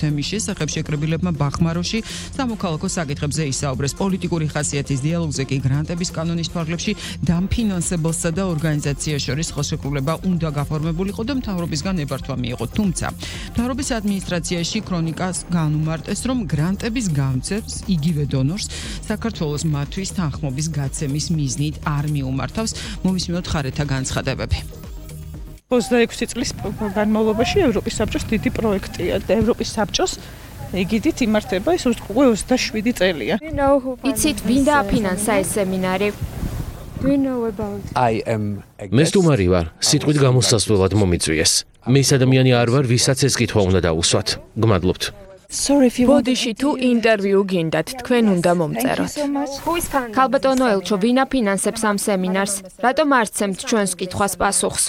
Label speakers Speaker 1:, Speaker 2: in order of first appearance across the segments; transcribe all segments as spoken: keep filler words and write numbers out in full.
Speaker 1: თემის შესახებ შეკრებილებმა ბახმაროში სამოქალაქო საკითხებზე ისაუბრეს. პოლიტიკური ხასიათის დიალოგზე კი გრანტების კანონის ფარგლებში დამფინანსებელსა და ორგანიზაციას შორის ხელშეკრულება უნდა გაფორმებულიყო და მთავრობისგან ნებართვა მიიღო. თუმცა მთავრობის ადმინისტრაციაში ქრონიკას განუმარტეს, რომ გრანტების გამცემს იგივე დონორს საქართველოს მათთვის თანხმობის გაცემის მიზნით არ მიუმართავს. მოვისმინოთ ხარეთა განცხადებები.
Speaker 2: ოცდაექვსი წლის განმავლობაში ევროპის საბჭოს დიდი პროექტია და ევროპის საბჭოს ეგიდით იმართება ეს უკვე ოცდაშვიდი წელია.
Speaker 3: იცით, ვინ დააფინანსა ეს სემინარი?
Speaker 4: მე სტუმარი ვარ, სიტყვით გამოსასვლელად მომიწვიეს. მე ის ადამიანი არ ვარ, ვისაც ეს კითხვა უნდა დაუსვათ. გმადლობთ.
Speaker 3: ბოდიში თუ ინტერვიუ გინდათ, თქვენ უნდა მომწეროთ. ქალბატონო ელჩო, ვინ აფინანსებს ამ სემინარს? რატომ არ სცემთ ჩვენს კითხვას პასუხს?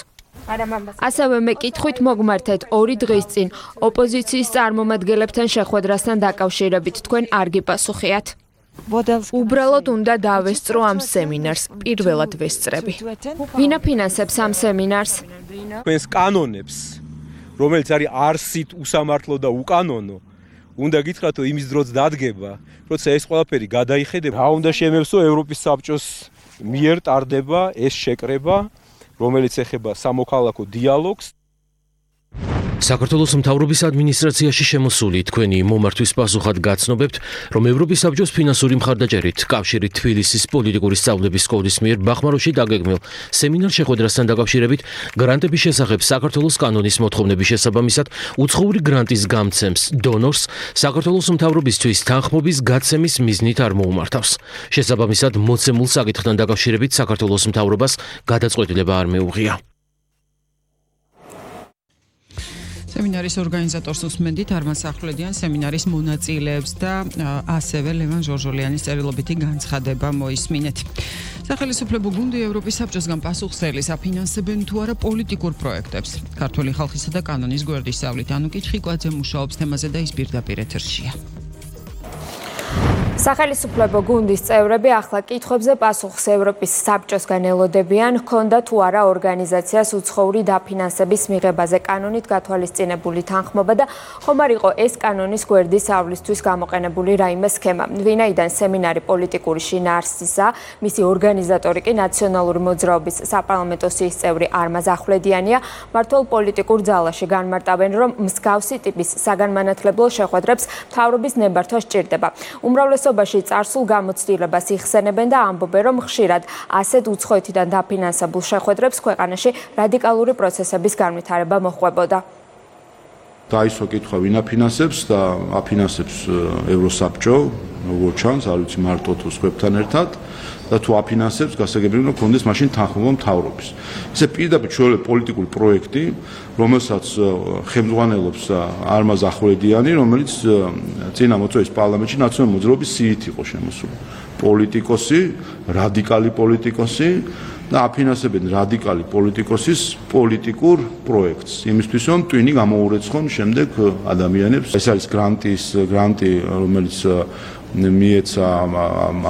Speaker 3: ასევე მე კითხვით მოგმართეთ ორი დღის წინ ოპოზიციის წარმომადგენლებთან შეხვედრასთან დაკავშირებით თქვენ არ გიპასუხიათ. უბრალოდ უნდა დავესწრო ამ სემინარს, პირველად ვესწრები. ვინ აფინანსებს ამ სემინარს?
Speaker 5: თქვენს კანონებს, რომელიც არის არსით უსამართლო და უკანონო, უნდა გითხრათ, რომ იმის დროც დადგება, როცა ეს ყველაფერი გადაიხედება. რა უნდა შემევსო ევროპის საბჭოს მიერ ტარდება ეს შეკრება, რომელიც ეხება სამოქალაქო დიალოგს.
Speaker 4: საქართველოს მთავრობის ადმინისტრაციაში შემოსული თქვენი მომართვის პასუხად გაცნობებთ, რომ ევროპის საბჭოს ფინანსური მხარდაჭერით კავშირით თბილისის პოლიტიკური სწავლების სკოლის მიერ ბახმაროში დაგეგმილ სემინარ შეხვედრასთან დაკავშირებით გრანტების შესახებ საქართველოს კანონის მოთხოვნების შესაბამისად უცხოური გრანტის გამცემს დონორს საქართველოს მთავრობისთვის თანხმობის გაცემის მიზნით არ მოუმართავს. შესაბამისად მოცემულ საკითხთან დაკავშირებით საქართველოს მთავრობას გადაწყვეტილება არ მეუღია.
Speaker 1: სემინარის ორგანიზატორს უსმენდით არმან სახვლედიან სემინარის მონაწილეებს და ასევე ლევან ჟორჟოლიანის წერილობითი განცხადება მოისმინეთ. სახელმწიფო გუნდი ევროპის საბჭოსგან პასუხსელის აფინანსებენ თუ არა პოლიტიკურ პროექტებს. ქართული ხალხისა და კანონის გვერდის სწავლით ანუკი ჩხიკვაძე მუშაობს თემაზე და ის პირდაპირ ეთერშია.
Speaker 3: სახელმწიფო გუნდის წევრები ახლა კითხვებზე პასუხს ევროპის საბჭოსგან ელოდებიან, ჰქონდა თუ არა ორგანიზაციას უცხოური დაფინანსების მიღებაზე კანონით გათვალისწინებული თანხმობა და ხომ არ იყო ეს კანონის გვერდისავლისთვის გამოყენებული რაიმე სქემა. ვინაიდან სემინარი პოლიტიკური შინაარსისა, მისი ორგანიზატორი კი ნაციონალური მოძრაობის საპარლამენტო სიის წევრი არმაზ ახვლედიანია, მართლ პოლიტიკურ ძალაში განმარტავენ, რომ მსგავსი ტიპის საგანმანათლებლო შეხვედრებს მთავრობის ნებართვა სჭირდება. უმრავლესობაში წარსულ გამოცდილებას იხსენებენ და ამბობენ, რომ ხშირად ასეთ უცხოეთიდან დაფინანსებულ შეხვედრებს ქვეყანაში რადიკალური პროცესების განვითარება მოჰყვებოდა.
Speaker 6: დაისვა კითხვა ვინ აფინანსებს და აფინანსებს ევროსაბჭო, როგორც ჩანს, არ ვიცი მარტო თუ სხვებთან ერთად და თუ აფინანსებს, გასაგებია უნდა ქონდეს მაშინ თანხმობა მთავრობის. ესე პირდაპირ ჩვეულებრივ პოლიტიკური პროექტი, რომელსაც ხელმძღვანელობს არმაზ ახვლედიანი, რომელიც წინა მოწვევის პარლამენტში ნაციონალური მოძრაობის სიით იყო შემოსული. პოლიტიკოსი, რადიკალი პოლიტიკოსი და აფინანსებენ რადიკალი პოლიტიკოსის პოლიტიკურ პროექტს. იმისთვის რომ ტვინი გამოურეცხონ შემდეგ ადამიანებს. ეს არის გრანტის გრანტი, რომელიც მიეცა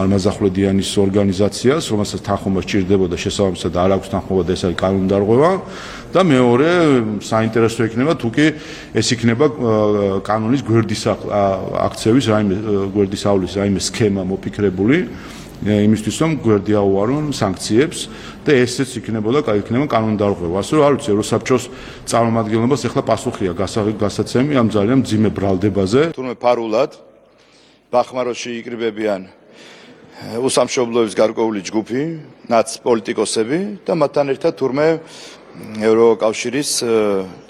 Speaker 6: არმაზ ახვლედიანის ორგანიზაციას, რომელსაც თანხმობა სჭირდებოდა შესაბამისად არ აქვს თანხმობა და ეს არის კანონდარღვევა. და მეორე საინტერესო იქნება თუ კი ეს იქნება კანონის გვერდის აქცევის რაიმე გვერდის ავლის რაიმე სქემა მოფიქრებული იმისთვის რომ გვერდი აუარონ სანქციებს და ესეც იქნებოდა იქნება კანონდარღვევა. ასე რომ არ ვიცი ევროსაბჭოს წარმომადგენლობას ეხლა პასუხია გასაცემი ამ ძალიან მძიმე ბრალდებაზე.
Speaker 7: თურმე ფარულად ბახმაროში იკრიბებიან უსამშობლოების გარკვეული ჯგუფი, ნაც პოლიტიკოსები და მათთან ერთად თურმე ევროკავშირის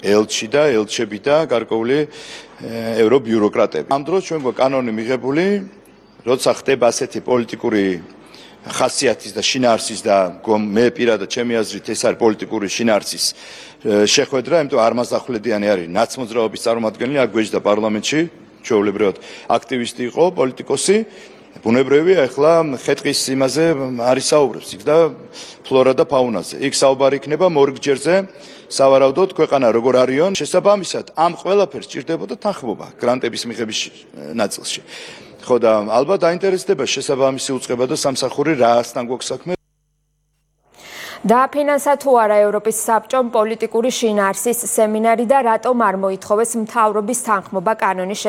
Speaker 7: ელჩი და ელჩები და გარკვეული ევრობიუროკრატები. ამ დროს ჩვენ გვაქვს კანონი მიღებული, როცა ხდება ასეთი პოლიტიკური ხასიათის და შინაარსის და მე პირადად ჩემი აზრით ეს არის პოლიტიკური შინაარსის შეხვედრა, იმიტომ არმაზ ახვლედიანი არის ნაცმოძრაობის წარმომადგენელი, აქ გვეჯდა პარლამენტში, ჩვეულებრივად აქტივისტი იყო, პოლიტიკოსი. ბუნებრივია, ახლა ხეტყის იმაზე არის საუბრობს იქ და ფლორა და ფაუნაზე. იქ საუბარი იქნება მორიგჯერზე, სავარაუდოდ ქვეყანა როგორ არიან, შესაბამისად ამ ყველაფერს სჭირდებოდა თანხმობა გრანტების მიღების ნაწილში. ხო და ალბათ დაინტერესდება შესაბამისი უწყება და სამსახური რაასთან გვაქვს საქმე.
Speaker 3: დააფინანსა თუ არა ევროპის საბჭომ პოლიტიკური შინაარსის სემინარი და რატომ არ მოითხოვეს მთავრობის თანხმობა კანონის